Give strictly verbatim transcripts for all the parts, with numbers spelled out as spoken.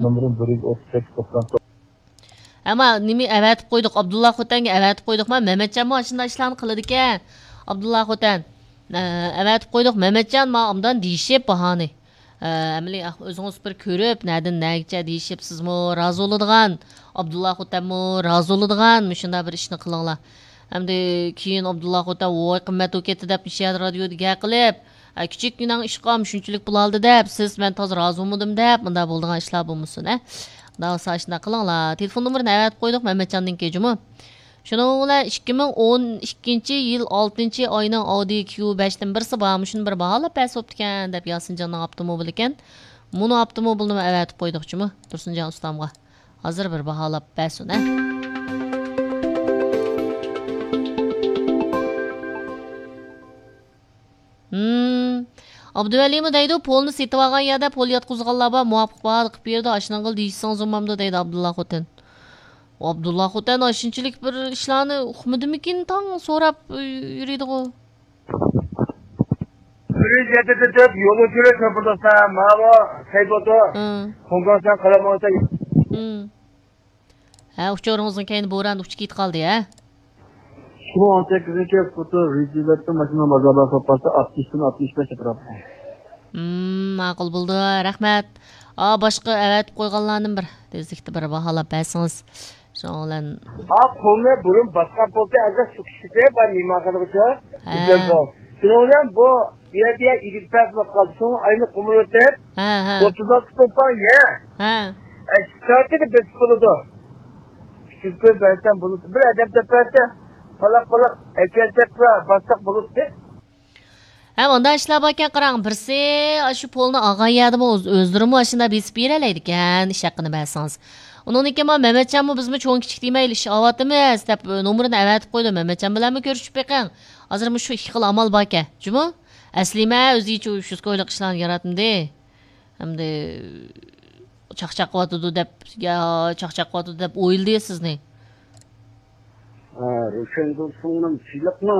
نومۇرۇم بىر يۈز ئوتتۇز سەككىز توقسان توققۇز. ئەمما نېمە ئەۋەتىپ قويدۇق، ئابدۇللا خوتەنگە ئەۋەتىپ قويدۇق. ما، مەمەتجانمۇ ئاشۇنداق ئىشلارنى قىلىدىكەن. ئابدۇللا خوتەن، ئە، ئەۋەتىپ قويدۇق، مەمەتجان، ما، ئامدان دېيىشىپ باھانى. ئە، ئەمەلىي، ئاھ، ئۆزىڭىز بىر كۆرۈپ، نەدىن نەگىچە دېيىشىپ، سىزمۇ رازى بولىدىغان، ئابدۇللا خوتەنمۇ رازى بولىدىغان مۇشۇنداق بىر ئىشنى قىلىڭلار. ئەمدى كېيىن ئابدۇللا خوتەن، ۋاي، قىممەت بولۇپ كەتتى دەپ، نېشە رادىيودا گەپ قىلىپ، ئە، كىچىككىنەڭ ئىشقا شۇنچىلىك پۇل ئالدى دەپ، سىز مەن تازا رازى بولمىدىم دەپ، مۇنداق بولىدىغان ئىشلار بولمىسۇن، ھە. ئۇنداق بولسا ئاشۇنداق قىلىڭلار. تېلېفون نومۇرىنى ئەۋەتىپ قويدۇق مەمەتجاننىڭكى، جۇمۇ. شۇنىڭ بىلەن ئىككى مىڭ ئون ئىككىنچى يىل ئالتىنچى ئاينىڭ ئاۋدى كيۇ بەشتىن بىرسى بار، مۇشۇنى بىر باھالاپ بەرسە بوپتىكەن دەپ، ياسىنجاننىڭ ئاپتوموبىلى ئىكەن. مۇنۇ ئاپتوموبىلنىمۇ ئەۋەتىپ قويدۇق، جۇمۇ، تۇرسۇنجان ئۇستامغا. ھازىر بىر باھالاپ بەرسۇن، ھە. ھىم. ئابدۇۋەلىمۇ دەيدۇ، پولنى سېتىۋالغان يەردە پول ياتقۇزغانلار بار، مۇۋاپىق باھادا قىلىپ بېرىدۇ، ئاشۇنىڭغىلا دېيىشسىڭىز بولمامدۇ دەيدۇ ئابدۇللا خوتەن. ئابدۇللا خوتەن ئاشۇنچىلىك بىر ئىشلارنى ئۇقمىدىمىكىن، تاڭ سوراپ يۈرىدىغۇ. بىر يۈز يەتتە تۆت يولۇچىلىق شوپۇردۇقتا ماۋۇ سەيپۇتۇ. ھىم. خوڭكوڭسان قىلىمۇ. ھىم. ھە، ئۇچۇرىڭىزنىڭ كەينى بوران ئۇچۇپ كېتىپ قالدى، ھە؟ ئىككى مىڭ ئون سەككىزىنچى يىل فوتو ۋىدېو ماشىنا بازاردا سوپاسى ئاتمىشتىن ئاتمىش بەش ئەتراپىدا. ھىم، ماقۇل بولدى، رەھمەت. ئا، باشقا ئەۋەتىپ قويغانلارنى بىر تېزلىكتە بىر باھالاپ بەرسىڭىز. شۇنىڭ بىلەن. ھا، پۇلنى بۇرۇن باسقان بولسا، ئەگەر شۇ كىشىسى بار مېھمانخانىغىچە. ھە. شۇنىڭ بىلەن بۇ يەردە ئىگىدە پەس بولۇپ قالدى. شۇڭا ئاينى قۇمۇرۇتۇپ، ھە، ھە. ئوتتۇز ئالتە توپان يە. ھە. ئەشىك تارتىنى بېسىپ بولىدۇ. ئۈچ يۈز كوي بەرسەم بولىدۇ. بىر ئادەم تېپىۋەتسە، پالاق-پالاق ئەكەلسەكلا باسساق بولىدۇ. ھە، مۇنداق ئىشلار باركەن، قاراڭ، بىرسى ئاشۇ پولنى ئالغان يەردىمۇ ئۆز-، ئۆزلىرىمۇ ئاشۇنداق بېسىپ بېرەلەيدىكەن، ئىش ھەققىنى بەرسىڭىز. ئۇنىڭدىن كېيىن مانا مەمەتجانمۇ بىزمۇ چوڭ-كىچىك دېمەيلى، ئىش ئاۋاتىمىز دەپ، نومۇرىنى ئەۋەتىپ قويدۇ. مەمەتجان بىلەنمۇ كۆرۈشۈپ بېقىڭ. ھازىر مۇشۇ ئىككى خىل ئامال باركەن. جۇمۇ؟ ئەسلىمە ئۆزىچە ئۈچ يۈز كويلۇق ئىشلارنى ياراتمىدى. ئەمدى چاقچاق قىلىۋاتىدۇ دەپ، يا چاقچاق قىلىۋاتىدۇ دەپ ئويلىدى سىزنى. ھە، روشەنگۈل سىڭلىم، تىنچلىقمۇ؟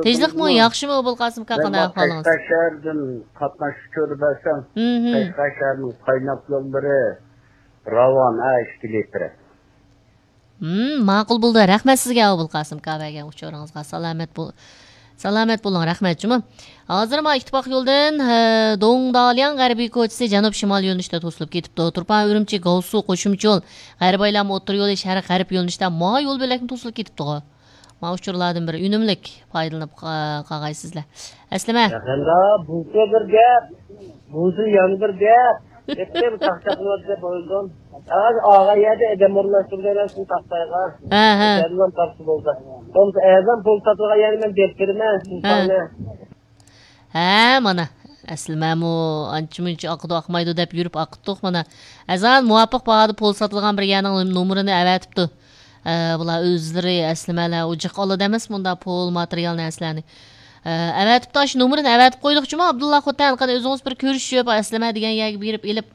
تىنچلىقمۇ؟ ياخشىمۇ، ئوبۇلقاسىم ئاكا، قانداق ئەھۋالىڭىز؟ قەشقەر شەھىرىدىن قاتناشقا كۆرۈپ بەرسەم، ھىم، ھىم. قەشقەر شەھىرىنىڭ قايناق يوللىرى راۋان، ھە، ئىككى لىتىر. ھىم، ماقۇل بولدى. رەھمەت سىزگە، ئوبۇلقاسىم ئاكا، بەرگەن ئۇچۇرىڭىزغا. سالامەت بول-، سالامەت بولۇڭ، رەھمەت جۇمۇ. ھازىر ما ئىتتىپاق يولدىن، ھە، دوڭدالياڭ غەربىي كوچىسى جەنۇب شىمال يۆنىلىشتە توسۇلۇپ كېتىپتۇ. تۇرپان ئۈرۈمچى گاۋسۇ قوشۇمچە يول، غەربىي ئايلانما ئوتتۇرا يولى شەرق غەرب يۆنىلىشتە ما يول بۆلەكنى توسۇلۇپ كېتىپتىغۇ. ما ئۇچۇرلاردىن بىر ئۈنۈملۈك پايدىلىنىپ قا-، قالغايسىزلەر. ئەسلىمە. يېقىندا بۇلتۇر بىر گەپ، بۇزۇل يەنە بىر گەپ. يېقىن چاقچاقلىۋاتىدۇ دەپ ئويلىدىم. ھازىر ئالغان يەردە ئادەم ئورۇنلاشتۇرۇپ بېرەرسىز تاختايغا. ھە، ھە. ئادەم تاپسا بولدى. بولمىسا ئەرزان پۇل ساتىدىغان يەرنى مەن بېرىپ بېرىمەن. ھە. ھە، مانا، ئەسلىمەمۇ ئانچە-مۇنچە ئاقىدۇ، ئاقمايدۇ دەپ يۈرۈپ ئاقىتتۇق، مانا. ئەزان مۇۋاپىق باھادا پول ساتىدىغان بىر يەرنىڭ نومۇرىنى ئەۋەتىپتۇ. ئە، بۇلار ئۆزلىرى ئەسلىمەلەر، ئۇ جىق ئالىدۇ ئەمەسمۇ مۇنداق پول، ماتېرىيال نەرسىلەرنى. ئە، ئەۋەتىپتۇ، ئاشۇ نومۇرىنى ئەۋەتىپ قويدۇق جۇمۇ، ئابدۇللا خوتەن، قېنى ئۆزىڭىز بىر كۆرۈشۈپ، ئەسلىمە دېگەن يەرگە بېرىپ ئېلىپ،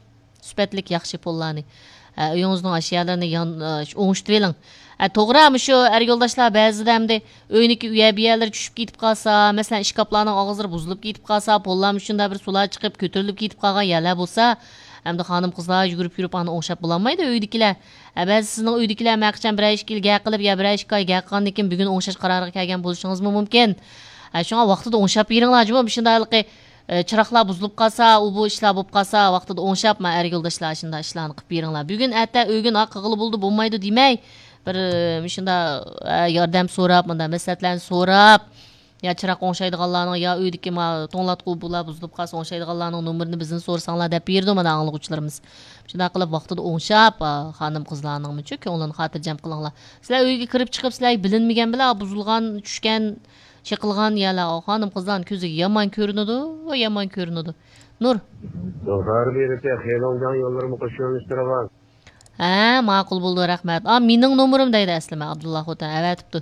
سۈپەتلىك ياخشى پوللارنى، ئە، ئۆيىڭىزنىڭ ئاشۇ يەرلىرىنى يان-، ئە، شۇ ئوڭشىتىۋېلىڭ. ئە، توغرا، مۇشۇ ئەر يولداشلار بەزىدە ئەمدى ئۆينىڭكى ئۇ يەر بۇ يەرلىرى چۈشۈپ كېتىپ قالسا، مەسىلەن، ئىشكاپلارنىڭ ئاغزىلىرى بۇزۇلۇپ كېتىپ قالسا، پوللار مۇشۇنداق بىر سۇلار چىقىپ، كۆتۈرۈلۈپ كېتىپ قالغان يەرلەر بولسا، ئەمدى خانىم-قىزلار يۈگۈرۈپ يۈرۈپ ئانى ئوڭشاپ بولالمايدۇ ئۆيدىكىلەر. ئە، بەزى سىزنىڭ ئۆيدىكىلەر مەقىچان بىرەر ئىككى يىل گەپ قىلىپ، يا بىرەر ئىككى ئاي گەپ قىلغاندىن كېيىن بۈگۈن ئوڭشاش قارارىغا كەلگەن بولۇشىڭىزمۇ مۇمكىن. ئە، شۇڭا ۋاقتىدا ئوڭشاپ بېرىڭلار جۇمۇ، مۇشۇنداق ھېلىقى ئە، چىراغلار بۇزۇلۇپ قالسا، ئۇ بۇ ئىشلار بولۇپ قالسا، ۋاقتىدا ئوڭشاپ، مانا ئەر يولداشلار شۇنداق ئىشلارنى قىلىپ بېرىڭلار. بۈگۈن ئەتە ئۆگۈن ئا قىلغىلى بولىدۇ، بولمايدۇ دېمەي، بىر، ئە، مۇشۇنداق، ئە، ياردەم سوراپ، مۇنداق مەسلىھەتلەرنى سوراپ، يا چىراغ ئوڭشايدىغانلارنىڭ، يا ئۆيدىكى ما توڭلاتقۇ بۇلار بۇزۇلۇپ قالسا ئوڭشايدىغانلارنىڭ نومۇرىنى بىزدىن سورىساڭلار دەپ بېرىدۇ مانا ئاڭلىغۇچىلىرىمىز. شۇنداق قىلىپ ۋاقتىدا ئوڭشاپ، ئا، خانىم قىزلارنىڭمۇچۇ كۆڭلىنى خاتىرجەم قىلىڭلار. سىلەر ئۆيگە كىرىپ چىقىپ سىلەرگە بىلىنمىگەن بىلەن بۇزۇلغان، چۈشكەن، چېقىلغان يەرلەر خانىم-قىزلارنىڭ كۆزىگە يامان كۆرۈنىدۇ، يامان كۆرۈنىدۇ. نۇر. دوغدار بېرىتى خېلوڭجياڭ يوللىرىمۇ قوشۇۋېلىشتۇرغان. ھە، ماقۇل بولدى، رەھمەت. ئا، مېنىڭ نومۇرۇم دەيدۇ ئەسلىمە، ئابدۇللا خوتەن ئەۋەتىپتۇ.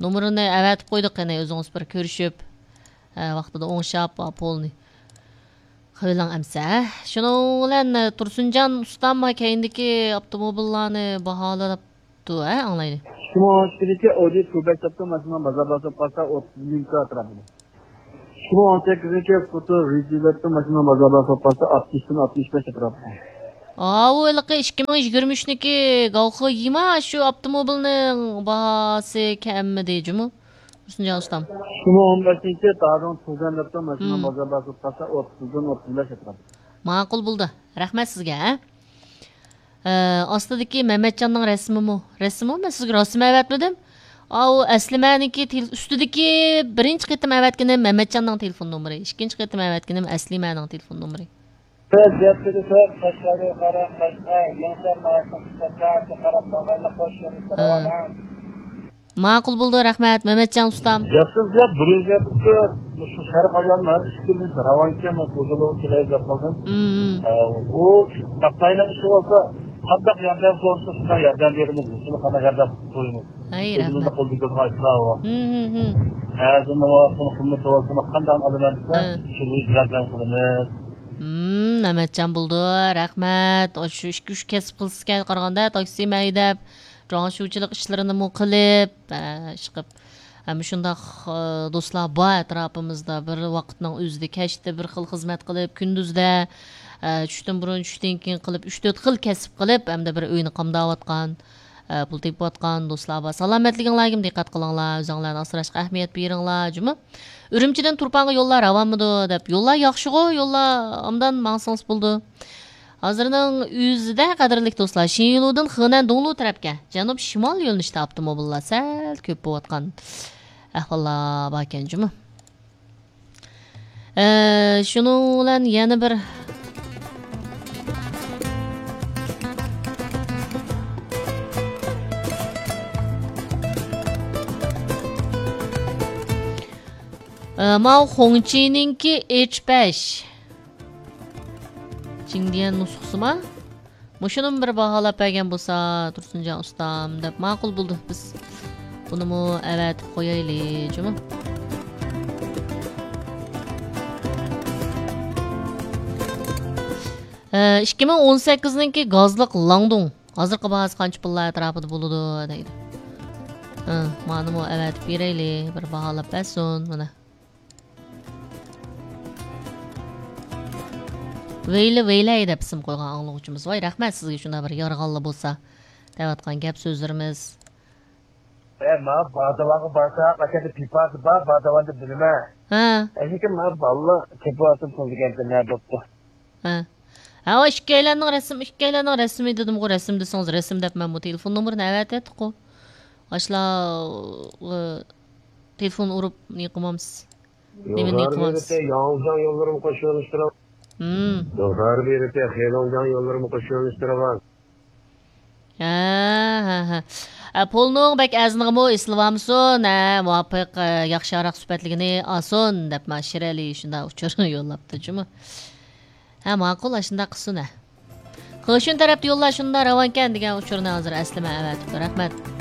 نومۇرىنى ئەۋەتىپ قويدۇق، قېنى ئۆزىڭىز بىر كۆرۈشۈپ، ھە، ۋاقتىدا ئوڭشاپ، ئا، پولنى. قىلىۋېلىڭ ئەمسە. شۇنىڭ بىلەن، ئە، تۇرسۇنجان ئۇستام كەينىدىكى ئاپتوموبىللارنى باھالاپ تۇ، ھە، ئاڭلايلى. ئىككى مىڭ ئون ئىككىنچى يىل ئودى تۇبەك ساپتا ماشىنا بازاردا سوپ قالسا ئوتتۇز مىڭ ئەتراپىدا. ئىككى مىڭ ئون سەككىزىنچى يىل فوتو ۋىدېو ماشىنا بازاردا سوپ قالسا ئاتمىشتىن ئاتمىش بەش ئەتراپىدا. ئاۋۇ ھېلىقى ئىككى مىڭ يىگىرمە ئۈچنىڭكى گاۋخې يىما شۇ ئاپتوموبىلنىڭ باھاسى كەممىدى جۇمۇ؟ تۇرسۇنجان ئۇستام. ئىككى مىڭ ئون بەشىنچى تادىڭ تۇزەن دەپتۇ، ماشىنا مم. بازار بازار قالسا ئوتتۇزدىن ئوتتۇز بەش ئەتراپى. ماقۇل بولدى. رەھمەت سىزگە، ھە؟ ئە، ئاستىدىكى مەمەتجاننىڭ رەسىمىمۇ؟ رەسىمىمۇ؟ مەن سىزگە رەسىم ئەۋەتمىدىم. ئاۋۇ ئەسلىمەنىڭكى تېل-، ئۈستىدىكى بىرىنچى قېتىم ئەۋەتكىنىم مەمەتجاننىڭ تېلېفون نومۇرى. ئىككىنچى قېتىم ئەۋەتكىنىم ئەسلىمەنىڭ تېلېفون نومۇرى. سىز يەتتىدە سىز قەشقەرگە قاراپ، قەشقەر، يېڭىسار ناھىيەسىنىڭ قىشلىق شەھەرگە قاراپ، باغارلىق قوش يولى ھە. راۋان. ماقۇل بولدى، رەھمەت، مەمەتجان ئۇستام. ياخشى، ياخشى، بىرىنچى يەردە مۇشۇ شەرق ئاياللار ئىككىمىز راۋانكەن، مەن قوزىلىغا كېلەي دەپ قالدىم. مم. ئە، ئۇ تاپتاينىڭ ئىشى بولسا، قانداق ياردەم سورىسا، شۇنداق ياردەم بېرىمىز، شۇنى قانداق ياردەم قىلىمىز. ئەي، ئۆزىمىزنىڭ رەھمەت. قولىدىكى ئىشلار بار. مم، مم، مم. ھەزىمنى بولسۇن، قىممىتى بولسۇن، قانداق ئالىمەن دېسە، ھە. شۇ ياردەم قىلىمىز. مم، مەمەتجان بولدى، رەھمەت. ئاشۇ ئىككى، ئۈچ كەسىپ قىلسىكەن قارىغاندا، تاكسىمۇ ھەيدەپ، جۇڭشۇچىلىق ئىشلىرىنىمۇ قىلىپ، ئە، ئىشقىپ، ھەم شۇنداق، ئە، دوستلار بار ئەتراپىمىزدا، بىر ۋاقىتنىڭ ئۆزىدە كەچتە بىر خىل خىزمەت قىلىپ، كۈندۈزدە، ئە، چۈشتىن بۇرۇن، چۈشتىن كېيىن قىلىپ، ئۈچ، تۆت خىل كەسىپ قىلىپ، ھەمدە بىر ئۆينى قامداۋاتقان، ئە، پۇل تېپىۋاتقان دوستلار بار. سالامەتلىكىڭلارغىمۇ دىققەت قىلىڭلار، ئۆزۈڭلارنى ئاسراشقا ئەھمىيەت بېرىڭلار، جۇمۇ. ئۈرۈمچىدىن تۇرپانغا يوللار راۋانمىدۇ دەپ، يوللار ياخشىغۇ، يوللار ئوبدان ماڭسىڭىز بولىدۇ. ھازىرنىڭ ئۆزىدە، قەدىرلىك دوستلار، شىنلۇدىن خېنەن دۇڭلۇ تەرەپكە جەنۇب شىمال يۆنىلىشتە ئاپتوموبىللار سەل كۆپ بولۇۋاتقان ئەھۋاللار باركەن جۇمۇ. ئە، شۇنىڭ بىلەن يەنە بىر، ئە، ماۋۇ خۇڭچىنىڭكى ئېچ بەش. جىڭدىيەن نۇسخىسىما؟ مۇشۇنىمۇ بىر باھالاپ بەرگەن بولسا، تۇرسۇنجان ئۇستام، دەپ ماقۇل بولدى. بىز بۇنىمۇ ئەۋەتىپ قويايلى، جۇمۇ. ئىككى مىڭ ئون سەككىزنىڭكى گازلىق لاڭدۇڭ. ھازىرقى باھاسى قانچە پۇللار ئەتراپىدا بولىدۇ، دەيدۇ. ھە، مانىمۇ ئەۋەتىپ بېرەيلى، بىر باھالاپ بەرسۇن، مانا. ۋەيلى، ۋەيلەي دەپ ئىسىم قويغان ئاڭلىغۇچىمىز. ۋاي، رەھمەت سىزگە، شۇنداق بىر يارىغانلا بولسا دەۋاتقان گەپ سۆزلىرىمىز. ئە، ماۋۇ بادىۋانغا بارساق، ئاشۇ يەردە پىپاسى بار، بادىۋاندا بىلىمەن. ھە. ئەشىكى ماۋۇ بالىلار تېپىۋاتىدۇ، پۇل دېگەندە نە بوپتۇ؟ ھە. ھە، ئۇ ئىككىيلەننىڭ رەسىم، ئىككىيلەننىڭ رەسىمى دېدىمغۇ، رەسىم دېسىڭىز رەسىم دەپ مەنمۇ تېلېفون نومۇرىنى ئەۋەتىۋەتتىققۇ. ئاشۇلار، ئۇ، تېلېفون ئۇرۇپ نېمە قىلمامسىز؟ نېمىنى يوللار قىلىمىز؟ بېرىپ، ياڭجياڭ يوللىرىمۇ قوشۇۋېلىشتۇرۇڭ. ھىم. يوللار بېرىپ، خېلوڭجياڭ يوللىرىمۇ قوشۇۋېلىشتۇرۇڭ. ھە، ھە، ھە. ئە، پولنىڭ بەك ئەرزىنىغىمۇ ئېسىلىۋالمىسۇن، ھە، مۇۋاپىق، ئە، ياخشى ھاراق سۈپەتلىكىنى ئالسۇن، دەپ ما شىرئەلى شۇنداق ئۇچۇر يوللاپتۇ جۇمۇ. ھە، ماقۇل، ئاشۇنداق قىلسۇن، ھە. خېشۈن تەرەپتە يوللار شۇنداق راۋانكەن دېگەن ئۇچۇرنى ھازىر ئەسلىمە ئەۋەتىپتۇ. رەھمەت.